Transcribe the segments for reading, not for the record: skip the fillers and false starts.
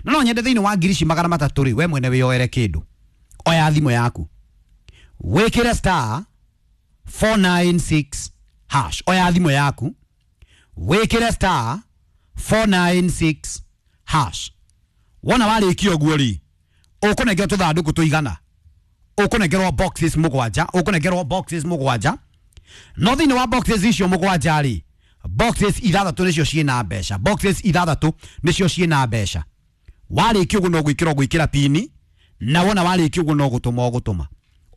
Na no nyende thĩinĩ wa ngiri ici 300 rĩ, we mwene wĩyoere kĩndũ. Oya thimũ yaku, wĩkĩre star 496 hash. Oya thimũ yaku, wĩkĩre star 496 hash. Wona warĩkia ũguo rĩ, ũkũnengerwo tũthandũkũ tũigana, ũkũnengerwo boxes mũgwanja, ũkũnengerwo boxes mũgwanja. No thĩinĩ wa boxes icio mũgwanja rĩ, boxes ithathatũ nĩcio ciĩna mbeca, boxes ithathatũ nĩcio ciĩna mbeca. Warĩkia ũguo no gwĩkĩra ũgwĩkĩra pini, na wona warĩkia ũguo no gũtũma ũgũtũma.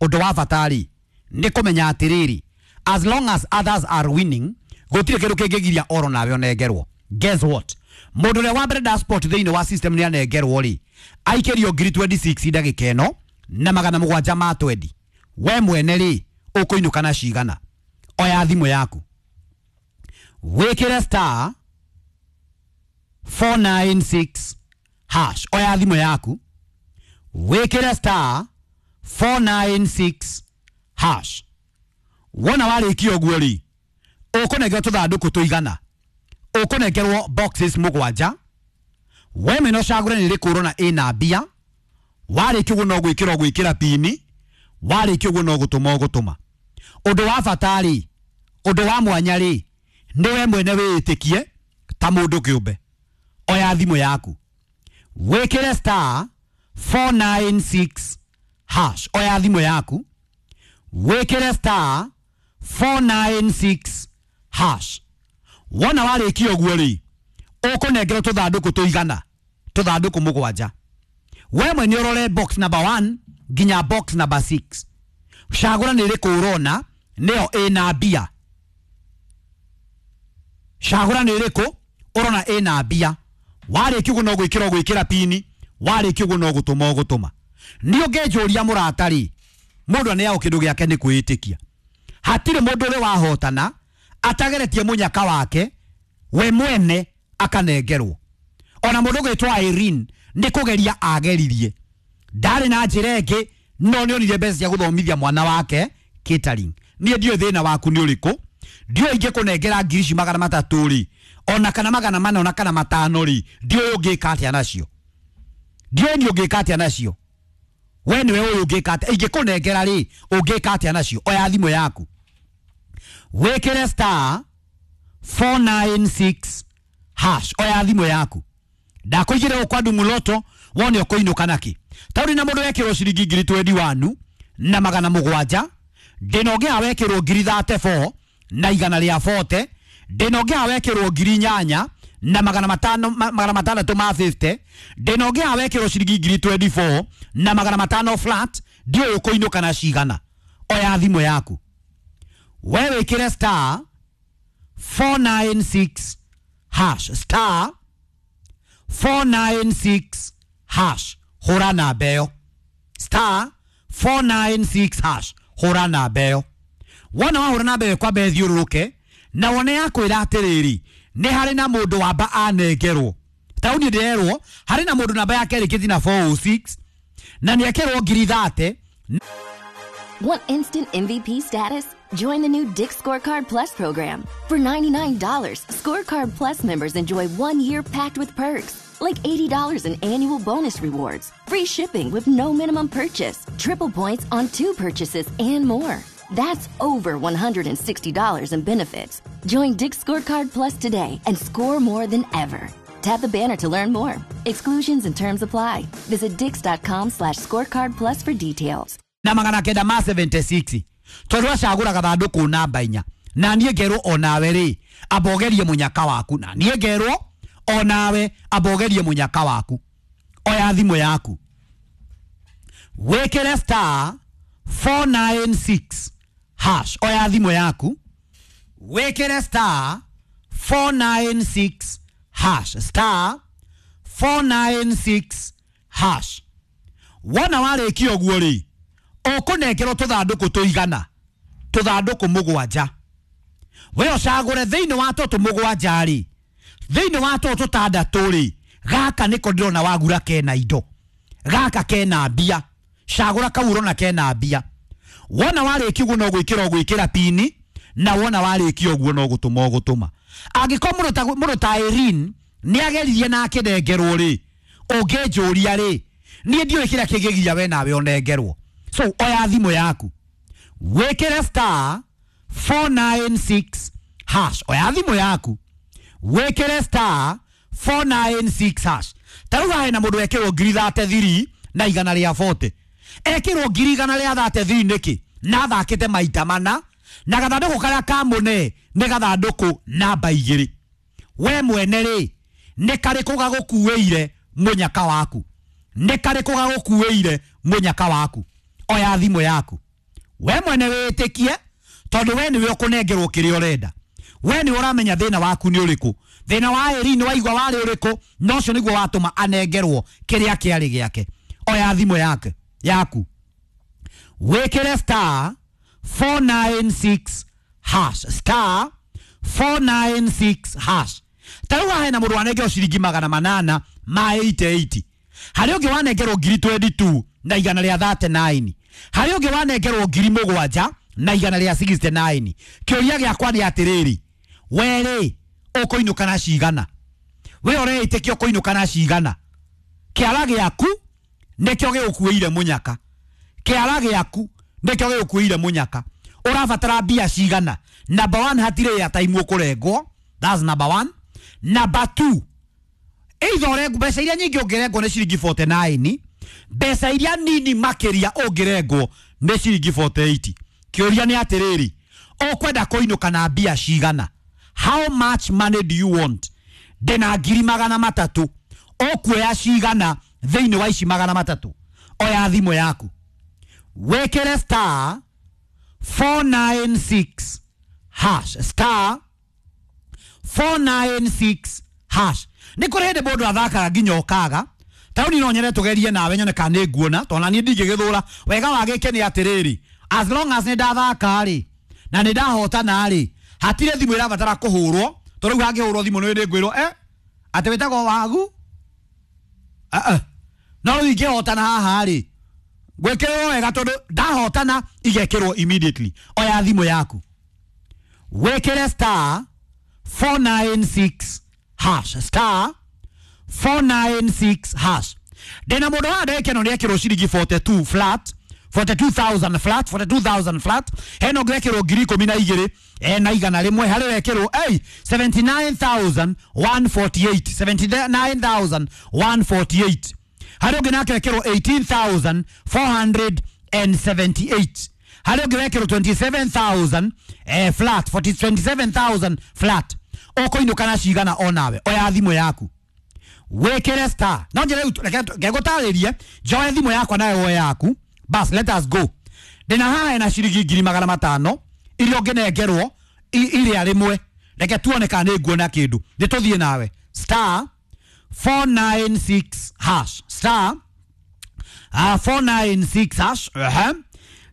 Ũndũ wa bata rĩ, nĩ kũmenya atĩrĩrĩ, as long as others are winning, gũtirĩ kĩndũ kĩngĩgiria oro nawe ũnengerwo. Guess what, mũndũ ũrĩa wa mbere da sport thĩinĩ wa system nĩ anengerwo rĩ, aikĩrio ngiri 26 ndagĩka ĩno na 720 ma 20. We mwene rĩ, ũkũinũka na cigana? Oya thimũ yaku, wĩkĩre star 496 hash. Oya thimũ yaku, wĩkĩre star 496 hash. Wona warĩkia ũguo rĩ, ũkũnengerwo tũthandũkũ tũigana, ũkũnengerwo boxes mũgwanja. We mwene ũcagũre nĩ rĩkũ ũrona ĩna mbia. Warĩkia ũguo no gwĩkĩra ũgwĩkĩra pini, warĩkia ũguo no gũtũma ũgũtũma. Ũndũ wa bata rĩ, ũndũ wa mwanya rĩ, nĩ we mwene wĩĩtĩkie ta mũndũ kĩũmbe. Oya thimũ yaku, wĩkĩre star 496 hash. Oya thimũ yaku, wĩkĩre star 496 hash. Wona warĩkia ũguo rĩ, ũkũnengerwo tũthandũkũ tũigana, tũthandũkũ mũgwanja. We mwene ũrore box number 1 nginya box number 6, cagũra nĩ ĩrĩkũ ũrona nĩyo ĩna mbia. Cagũra nĩ ĩrĩkũ ũrona ĩna mbia. Warĩkia ũguo no gwĩkĩra ũgwĩkĩra pini, warĩkia ũguo no gũtũma ũgũtũma. Nĩ ũngĩnjũria mũrata rĩ, mũndũ aneagwo kĩndũ gĩake nĩ kwĩĩtĩkia. Hatirĩ mũndũ ũrĩ wahotana atageretie mũnyaka wake we mwene akanengerwo. Ona mũndũ ũgwĩtwo Irene nĩ kũgeria ageririe, ndarĩ na njĩra ĩngĩ, no nĩ onire mbeca cia gũthomithia mwana wake catering. Niĩ ndiũĩ thĩna waku nĩ ũrĩkũ, ndiũĩ ingĩkũnengera ngiri ici 300 rĩ, ona kana 400 ona kana 500 rĩ, ndiũĩ ũngĩka atĩa nacio, ndiũĩ niĩ ũngĩka atĩa nacio. We nĩwe ũyũ ũngĩka atĩa, ingĩkũnengera rĩ, ũngĩka atĩa nacio? Oya thimũ yaku, wĩkĩre star 496 hash. Oya thimũ yaku, ndakũigĩre gũkũ andũ mũloto wone ũkũinũka nakĩ. Taũri na mũndũ wekĩrwo ciringi ngiri 21 na 700, ndĩna ũngĩ haha wekĩrwo ngiri 34 na igana rĩa 40, ndĩna ũngĩ haha wekĩrwo ngiri 8 na 500, 650 ma 50, ndĩna ũngĩ haha wekĩrwo ciringi ngiri 24 na 500 flat. Ndiũĩ ũkũinũka na cigana. Oya thimũ yaku, we wĩkĩre star 496 hash, star 496 hash, hũra namba ĩyo, star 496 hash, hũra namba ĩyo. Wona wahũra namba ĩyo kwamba ĩthiũrũrũke na wone yakwĩra atĩrĩrĩ, nĩ harĩ na mũndũ wamba anengerwo. Taũni ndĩrerwo harĩ na mũndũ namba yake ĩrĩkĩtie na 406 na nĩ ekĩrwo ngiri 30. Want instant MVP status? Join the new Dick's Scorecard Plus program. For $99, Scorecard Plus members enjoy 1 year packed with perks, like $80 in annual bonus rewards, free shipping with no minimum purchase, triple points on 2 purchases, and more. That's over $160 in benefits. Join Dick's Scorecard Plus today and score more than ever. Tap the banner to learn more. Exclusions and terms apply. Visit dicks.com/scorecard plus for details. Na 900 ma 76 tondũ acagũraga thandũkũ namba inya, na niĩ ngerwo onawe rĩ, ambogerie mũnyaka waku, na niĩ ngerwo onawe ambogerie mũnyaka waku. Oya thimũ yaku, wĩkĩre star 496 hash. Oya thimũ yaku, wĩkĩre star 496 hash, star 496 hash. Wona warĩkia ũguo rĩ, ũkũnengerwo tũthandũkũ tũigana, tũthandũkũ mũgwanja. We ũcagũre thĩinĩ wa tũtũ mũgwanja rĩ, thĩinĩ wa tũtũ tũtandatũ rĩ, gaka nĩko ndĩrona wagura kena indo, gaka kena mbia, cagũra kau ũrona kena mbia. Wona warĩkia ũguo no gwĩkĩra ũgwĩkĩra pini, na wona warĩkia ũguo no gũtũma ũgũtũma. Angĩkorwo mũndũ ta Irene nĩ ageririe na akĩnengerwo rĩ, Ũngĩnjũria rĩ, niĩ ndiũĩ kĩrĩa kĩngĩgiria we nawe ũnengerwo. So oya thimũ yaku, wĩkĩre star 496 hash. Oya thimũ yaku, wĩkĩre star 496 hash. Ta rĩu haha hena mũndũ wekĩrwo ngiri 33 na igana rĩa 40. Ekĩrwo ngiri igana rĩa 33 nĩkĩ? Na athakĩte maita mana, na gathandũkũ karĩa kamũne nĩ gathandũkũ namba 2. We mwene rĩ, nĩ karĩkũ gagũkuĩire mũnyaka waku? Nĩ karĩkũ gagũkuĩire mũnyaka waku? Oya thimũ yaku, we mwene wĩtĩkie, tondũ we nĩwe ũkũnengerwo kĩrĩa ũrenda. We nĩwe ũramenya thĩna waku nĩ ũrĩkũ. Thĩna wa Irene waigua warĩ ũrĩkũ, na ũcio nĩguo watũma anengerwo kĩrĩa kĩarĩ gĩake. Oya thimũ yake yaku, wĩkĩre star 496 hash, star 496 hash. Ta rĩu haha hena mũndũ wanengerwo ciringi 800 ma 88. Harĩ ũngĩ wanengerwo ngiri 22 na igana rĩa 39. Harĩ ũngĩ wanengerwo ngiri 7 na igana rĩa 69. Kĩũria gĩakwa nĩ atĩrĩrĩ, we rĩ ũkũinũka na cigana? We ũreĩtĩkia ũkũinũka na cigana? Kĩara gĩaku nĩkĩo gĩgũkuĩire mũnyaka. Kĩara gĩaku nĩkĩo gĩgũkuĩire mũnyaka. Ũrabatara mbia cigana? Number 1, hatirĩ airtime ũkũrengwo. That's number 1. Number 2, either ũrengwo mbeca iria nyingĩ ũngĩrengwo nĩ ciringi 49, mbeca iria nini makĩria ũngĩrengwo nĩ ciringi 48. Kĩũria nĩ atĩrĩrĩ, ũkwenda kũinũka na mbia cigana? How much money do you want? Ndĩna ngiri 300, ũkuoya cigana thĩinĩ wa ici 300? Oya thimũ yaku, wĩkĩre star 496 hash, star 496 hash. Nĩ kũrĩ hĩndĩ mũndũ athakaga nginya ũkaga. Ta rĩu niĩ no nyende tũgerie nawe nyone kana nĩ nguona, tondũ na niĩ ndingĩgĩthũra. Wega wa gĩkĩ nĩ atĩrĩrĩ, as long as nĩ ndathaka rĩ, na nĩ ndahotana rĩ, hatirĩ thimũ ĩrabatara kũhũrwo. Tondũ rĩu hangĩhũrwo thimũ nĩ ngwĩrwo, atĩ wĩtagwo Wagu? No rĩu ingĩhotana haha rĩ, gwĩkĩrwo wega tondũ ndahotana igekĩrwo immediately. Oya thimũ yaku, wĩkĩre star 496 hash, star 496 hash. Ndĩna mũndũ wa ndagĩka ĩno nĩekĩrwo ciringi 42 flat, 42,000 flat, 42,000 flat. Hena ũngĩ wekĩrwo ngiri 12 na igana rĩmwe. Harĩ wekĩrwo 79,148, 79,148. Harĩ ũngĩ nake wekĩrwo 18,478. Harĩ ũngĩ wekĩrwo 27,000 flat, 27,000 flat. Ũkũinũka na cigana onawe? Oya thimũ yaku, wĩkĩre star. No njĩre rĩu, reke ngũtarĩrie, njoe thimũ yakwa nawe woe yaku. Bas, let us go. Ndĩna haha hena ciringi ngiri 500 iria ũngĩnengerwo iria rĩmwe. Reke tuone kana nĩ nguona kĩndũ. Nĩ tũthiĩ nawe. Star 496 hash, star 496 hash.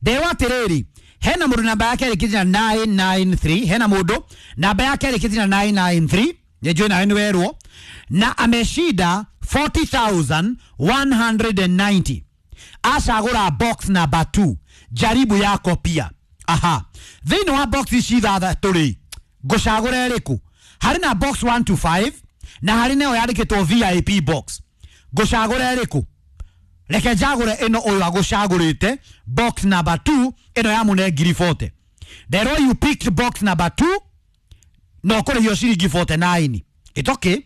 Ndewa atĩrĩrĩ, hena mũndũ namba yake ĩrĩkĩtie na 993. Hena mũndũ namba yake ĩrĩkĩtie na 993. Nĩnjũĩ nawe nĩ werwo. Na ameshinda 40,190. Acagũra box number 2. Jaribu yako pia. Aha. Thĩinĩ wa box ici ithathatũ rĩ, ngũcagũra ĩrĩkũ? Harĩ na box 1 to 5 na harĩ nayo yandĩkĩtwo VIP box. Ngũcagũra ĩrĩkũ? Reke njagũre ĩno ũyũ agũcagũrĩte box number 2, ĩno ya mũne ngiri 40. Nderwo you picked box number 2 no kũrĩhio ciringi 49. It's okay.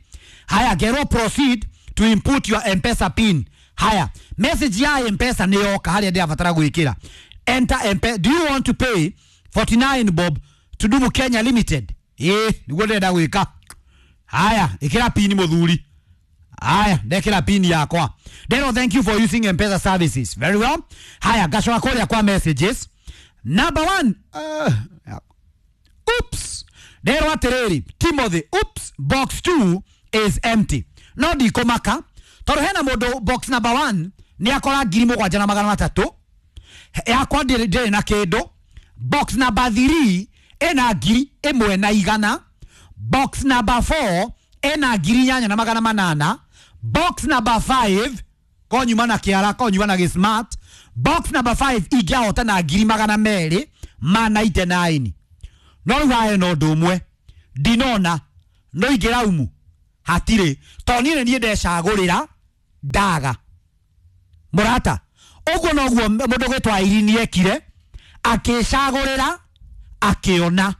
Haya, ngerwo proceed to input your M-Pesa pin. Haya, message ya M-Pesa nĩ yoka harĩa ndĩrabatara gwĩkĩra. Enter M-Pesa. Do you want to pay 49 bob to Dumu Kenya Limited? Nĩguo ndĩrenda gwĩka. Haya, ĩkĩra pin mũthuri. Haya, ndekĩra pin yakwa. Ndero thank you for using M-Pesa services. Very well. Haya, ngacoka kũrĩa kwa messages. Number 1. Oops. Ndero atĩrĩrĩ, Timothy, oops, box 2 is empty. No ndikũmaka, tondũ hena mũndũ box number 1 nĩ akora ngiri 7,300. Yakwa ndĩrĩ na kĩndũ. Box number 3 ĩna ngiri 1,100. Box number 4 ĩna ngiri 8,800. Box number 5 konyuma na kĩara, konyuma na gĩsmart. Box number 5 ingĩahota na ngiri 299. No rĩu haha hena ũndũ ũmwe ndinona, no ingĩraumu hatirĩ, tondũ niĩ nĩ niĩ ndecagũrĩra. Ndaga mũrata ũguo noguo mũndũ gwĩtwo Irene ekire, akĩcagũrĩra akĩona.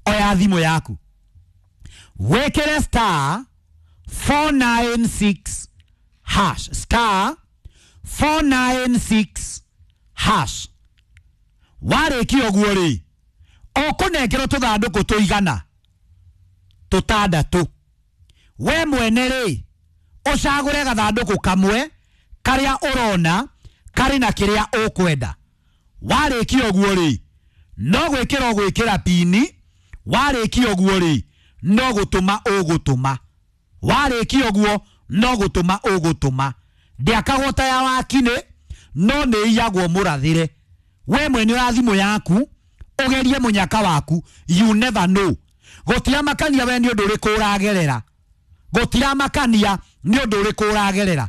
Oya thimũ yaku wĩkĩre star 496 hash, star 496 hash. Warĩkia ũguo rĩ, ũkũnengerwo tũthandũkũ tũigana tũtandatũ. We mwene rĩ, ũcagũre gathandũkũ kamwe karĩa ũrona karĩ na kĩrĩa ũkwenda. Warĩkia ũguo rĩ, no gwĩkĩra ũgwĩkĩra pini. Warĩkia ũguo rĩ, no gũtũma ũgũtũma. Warĩkia ũguo no gũtũma ũgũtũma. Ndĩakagwo ta ya wakinĩ, no nĩ iyagwo mũrathĩre. We mwene wa thimũ yaku ũgerie mũnyaka waku, you never know. Gũtiramakania we nĩ ũndũ ũrĩkũ ũragerera, gũtiramakania nĩ ũndũ ũrĩkũ ũragerera.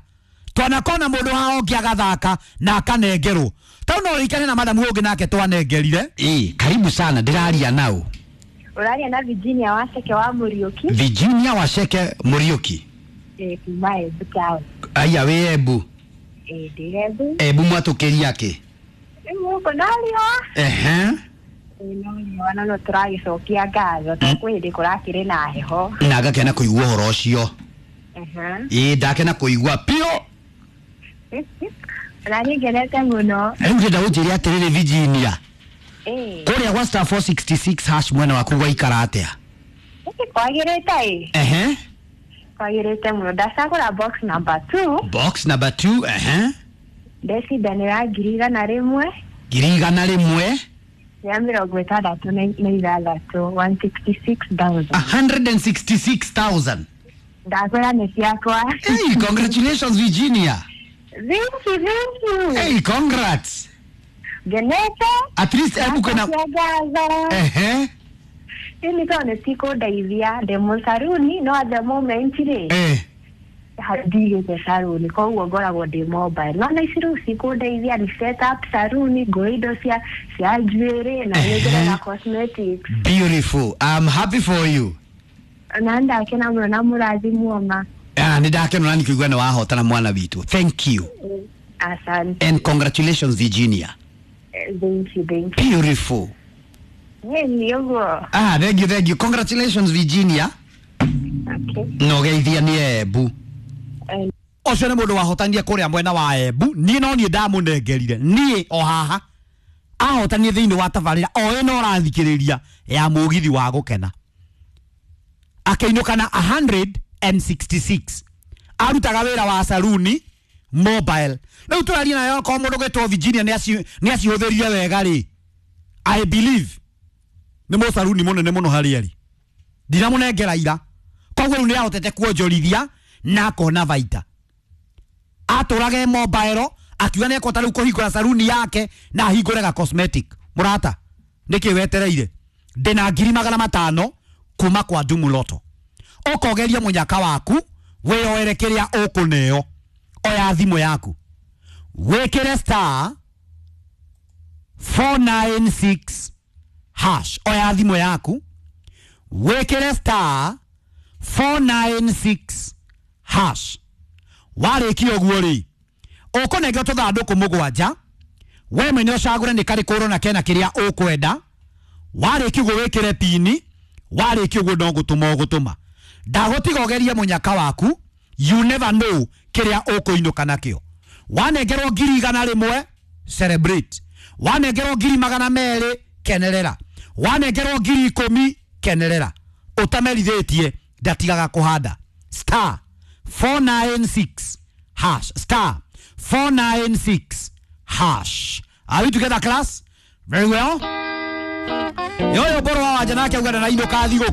Twanakona mũndũ haha ũngĩ agathaka na akanengerwo. Tau no ũrikane na madamu ũngĩ nake twanengerire. Karibu sana, ndĩraria nau. Ũraria na Virginia Waceke wa Mũriũki. Virginia Waceke Mũriũki. Kuma Embu town. Aya wĩ Embu. Ndĩ Embu. Embu mwatũkĩria kĩ? Gũkũ no riũa. Ehe. No riũa na no tũragĩcokia ngatho tondũ kwĩ hĩndĩ kũrakĩrĩ na heho. Na ngakena kũigua ũhoro ũcio. Ndakena kũigua piũ. Na niĩ ngenete mũno. Rĩu ndĩrenda ũnjĩre atĩrĩrĩ Virginia. Kũrĩa gwa star 466 hash mwena waku gwaikara atĩa? Kwagĩrĩte ĩ. Ehe. Kwagĩrĩte mũno. Ndacagũra box number 2. Box number 2, ehe. Ndecindanĩra 100,000. 100,000. Ya 66, 166,000. 166,000. Ndakwĩra nĩ ciakwa. Hey, congratulations Virginia. Thank you, thank you. Hey, congrats. Ngenete. At least Embu kwĩna. Ehe. Ĩni tondũ nĩ cikũndeithia, ndĩ mũcaruni no at the moment rĩ ndigĩte saruni, koguo ngoragwo ndĩ mobile. No na ici rĩu cikũndeithia ni set up saruni, ngũre indo cia njuĩrĩ na nĩngũre na cosmetics. Beautiful. I'm happy for you. Na ndakena mũno na mũrathimwo ma. Nĩ ndakena na nĩkũigua nĩ wahotana mwana witũ. Thank you. Asante. And congratulations Virginia. Thank you, thank you. Beautiful. Nĩ ũguo. Thank you, thank you. Congratulations Virginia. Okay. No geithia nĩ Embu. Ũcio nĩ mũndũ wahotania kũrĩa mwena wa Embu. Niĩ no niĩ ndamũnengerire. Niĩ o haha ahotanie thĩinĩ wa tabarĩra o ĩno ũrathikĩrĩria ya mũgithi wa gũkena. Akĩinũka na 166. Arutaga wĩra wa saruni mobile. Rĩu tũraria nayo okorwo mũndũ gwĩtwo Virginia nĩ acihũthĩrire wega rĩ, I believe nĩ mũcaruni mũnene mũno harĩa arĩ. Ndiramũnengera ira. Koguo rĩu nĩ ahotete kuonjorithia na akona baita. Atũrage mobile akiuga nĩ ekũhota rĩu kũhingũra saruni yake na ahingũre ga cosmetic. Mũrata, nĩkĩ wetereire? Ndĩna 500,000 kuma kwa Dumu Lotto. Ũkogeria mũnyaka waku wĩyoere kĩrĩa ũkũneo. Oya thimũ yaku wĩkĩre star 496 hash. Oya thimũ yaku wĩkĩre star 496 hash. Warĩkia ũguo rĩ, ũkũnengerwo tũthandũkũ mũgwanja. We mwene ũcagũre nĩ karĩkũ ũrona kena kĩrĩa ũkwenda. Warĩkia ũguo wĩkĩre pini. Warĩkia ũguo no gũtũma ũgũtũma. Ndagũtiga ũgerie mũnyaka waku, you never know kĩrĩa ũkũinũka nakĩo. Wanengerwo 100,000, celebrate. Wanengerwo 200,000, kenerera. Wanengerwo 10,000, kenerera. Ũtamerithĩtie ndatigaga kũhanda. Star 496 hash. Star 496 hash. Are we together class? Very well. Yoyo boro wa wanja nake auga ndarainũka thigũkũ.